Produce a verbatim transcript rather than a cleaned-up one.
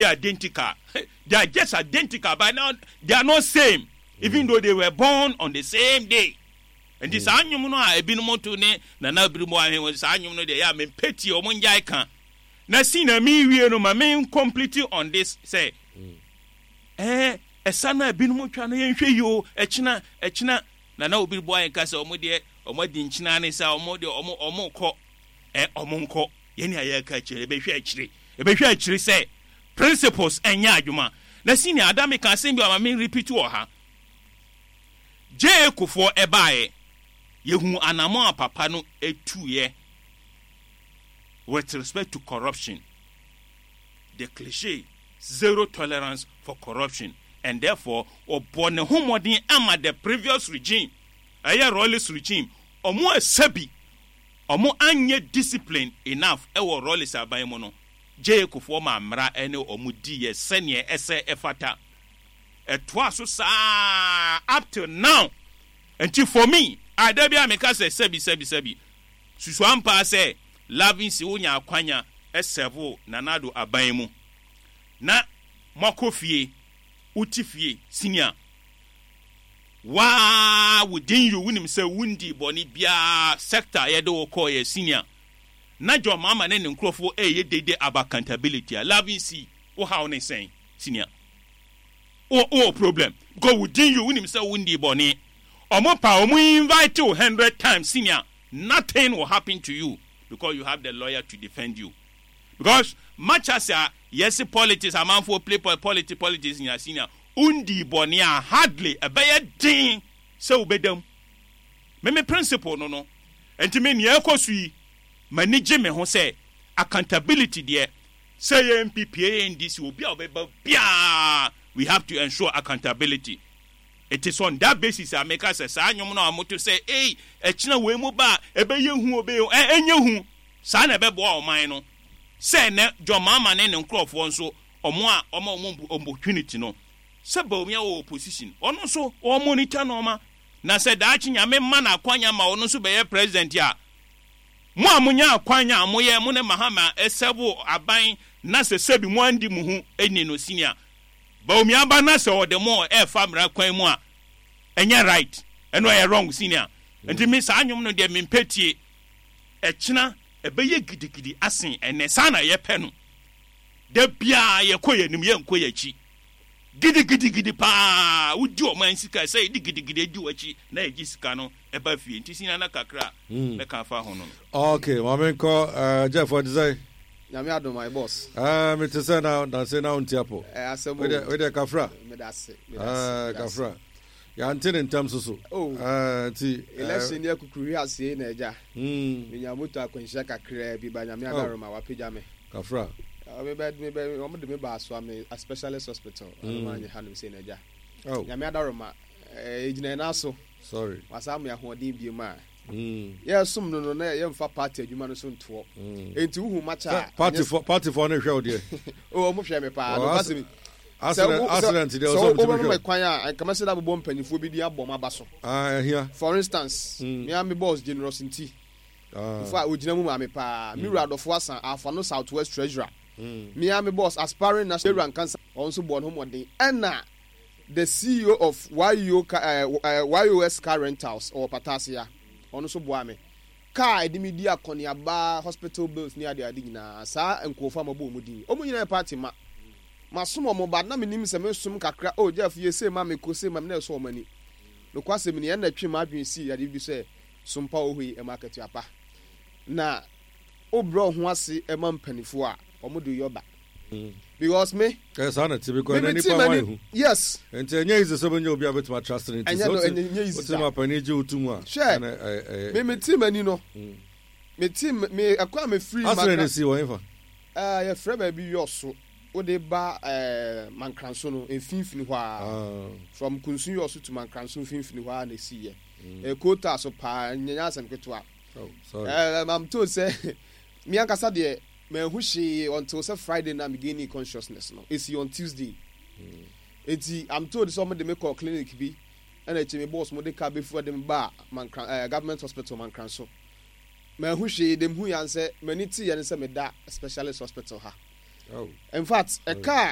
Identical. They are just identical, but now they are not same, mm. even though they were born on the same day. Nti saa nnwom no a ebinom to ne Nana Birimu Ahene, saa nnwom no deɛ, yɛ a mempɛ tie. Ɔmo ngyae ka na si na mewie no ma me complete on this sɛ ɛɛ ɛsa no a ebinom twa no, yɛnhwɛ yi o. Ɛkyena ɛkyena Nana Obi bɔ ayɛ nka sɛ ɔmo deɛ, ɔmo adi nkyena ne sɛ ɔmo deɛ, ɔmo ɔmo kɔ ɛ ɔmo nkɔ. Yɛne a yɛka akyire, ebɛhwɛ akyire, ebɛhwɛ akyire sɛ principles ɛnyɛ adwuma. Na senior ada, meka asɛm bi a ma me repeat wɔ ha. Gye Kufuor ɛbaeɛ, yɛhu anamɔ a papa no etuiɛ with respect to corruption, the cliche zero tolerance for corruption, and therefore ɔbɔ ne ho mmɔden ama the previous regime, ɛyɛ Rawlings regime, ɔmo ɛsɛ bi ɔmo anyɛ discipline enough ɛwɔ Rawlings aban mu no. Gye Kufuor ma mmara ɛne ɔmo di yɛ sɛneɛ ɛsɛ ɛfata. Ɛtoa so saa up till now. Nti for me, ada bi a meka sɛ sɛbi sɛbi sɛbi susu ampa sɛ Loving si wonya akwanya ɛsɛvo Nana Addo aban mu na moakɔ fie, wote fie, senior, waa within you wonim sɛ wondi bɔne biara. Sector yɛde wo kɔɔ yɛ, senior, na John Mahama ne ne nkurɔfoɔ ɛyɛ dede about accountability a, Loving si wo haw ne sɛn, senior? Wo wɔ problem because within you wonim sɛ wondi bɔne. Ɔmo pa ɔmo invite you hundred times, senior, nothing will happen to you because you have the lawyer to defend you. Because much as a yɛsi politics, amanfoɔ play politics, politics nyina, senior, wondi bɔne a, hardly ɛbɛyɛ den sɛ wobɛdam. Meme principle no no nti me nea ɛkɔ so yi, m'ani gye me ho sɛ accountability deɛ, sɛ yɛ N P P, yɛ N D C, obi a ɔbɛba biara, we have to ensure accountability. It is on that basis a meka sɛ saa nnwom no a moto sɛ ei, ɛkyena wei mu ba a, ɛbɛyɛ hu, ɔbɛyɛ ɛ ɛnyɛ hu saa na ɛbɛboa ɔman no sɛ ɛnɛ John Mahama ne ne nkurɔfoɔ nso, ɔmo a ɔma ɔmo opportunity no sɛ Bawumia wɔ opposition, ɔno nso wɔn monitor nneɛma, na sɛ daakye Nyame ma no akwanya ma ɔno nso bɛyɛ president a, mo a monya akwanya a moyɛ mo ne Mahama ɛsɛbo aban na sɛ sɛbi mo andi mo ho ani no, senior, Bawumia ba na sɛ ɔde mo ɛɛfa mmara kwan mu a, ɛnyɛ right, ɛno ɛyɛ wrong, senior. Nti me saa nnwom no deɛ, mempɛ tie. Ɛkyena ɛbɛyɛ gidigidi asen ɛnɛ. Saa na yɛpɛ no da biara, yɛkɔ yɛn anim, yɛnkɔ yɛn akyi. Gidigidigidi paa wodi ɔman sika sɛ yɛde gidigidi adi w'akyi na yɛgye sika no ɛba fie. Nti senior, na kakra a mɛka afa ho no no Ok, maame nkɔ uh, Jeff, ɔde sɛ Nyame adom, my boss. uh, mete sɛ na nanse na wonte apɔ. Ɛ asɛm o. Wode kafra. Meda ase, meda uh, ase, meda ase. Kafra, yɛante ne ntam so so. Oh. uh, nti uh, Election ni akukuru aseɛ na agya mm, menya moto akwanhyia kakraa bi ba. Nyame Oh. adaroma wapagya me. Kafra. Ɔ, mebɛ mebɛ ɔmo de me ba asoa me a specialist hospital. Mm. Ɔmo anye hanom sei na agya Oh. Nyame adaroma ɛɛ egyina yɛn aso. Sorry. Wasa ama ahoɔden bie mu a mm. yɛsom no no na yɛmfa party adwuma no so ntoɔ. Mm. Enti wohu makyɛ a party fo, party fo no hwɛ wo deɛ. O, ɔmo hwɛ me paa. Oh, No as- kwasɛm accident accident deɛ sɛ ɔsɛ ɔmo tumi wobɛma hwɛ me wo. kwan a, nka mɛsɛ da bobɔ mpanyinfoɔ bi din abɔ m aba so. Ah, ɛhia. For instance, Mm. me a me boss Generous nti Ah. nfa ogyina mu maame paa, me wura Adɔfo Asa afa no South West treasurer, Mm. me a me boss aspiring national wura Nkansa, ɔno nso bɔ ne ho mmɔden, ɛna the C E O of Y O car, uh, uh, Y O S Car Rentals ɔwɔ Patasia, ɔno nso boa me car ɛde mi di akɔneaba, hospital bills ne ade ade nyinaa. Saa nkurɔfoɔ a mabɔ wɔn din, wɔn nyinaa yɛ party ma masom wɔn ba na menim sɛ mesom kakra. Oh Jeff, yɛ sei ma me ko sei ma me na ɛsɔ wɔn ani. Nokwasɛm ni, ɛna twe m'adwene sii ade bi sɛ sompa wɔ hɔ yi ɛma akatua pa na wobrɛ wo ho ase ɛma mpanimfoɔ a wɔn de yɔ ba because me Ɛ saa na ti because me ɛnɛ me ti nipa wa m'ani ehu. Yes. Nti ɛnyɛ easy sɛ bɛnya obi a bɛtumi atrust ne nti Ɛnyɛ sɛ no, wote ɛnyɛ ɛnyɛ easy wote da. ma panin gye wo to mu a, Hwɛ, ɛnɛ ɛyɛ ɛyɛ me me ti m'ani no, me ti me ɛkɔ a me firi Accident ne si wɔ hefa? Ɛɛ yɛfrɛ baabi Yɔso, wode ba ɛɛ Mankranso no mfimfini hɔ a, Ah. from Kunsu Yɔso to Mankranso mfimfini hɔ a na esi yɛ. Ɛɛ koota so paa, nyɛ asɛm ketewa. Oh, sorry. ɛɛ I'm told sɛ me ankasa deɛ, manhu hwee until sɛ Friday na me gain consciousness no. Esi on Tuesday. Eti I'm told sɛ ɔmo de me kɔ clinic bi, ɛna akyi me boss mo de car bɛfu de me ba Mankran ɛɛ Government Hospital Mankranso. Manhu hwee dem hu yan sɛ m'ani te yɛ ne sɛ meda specialist hospital ha. Oh. In fact, ɛka a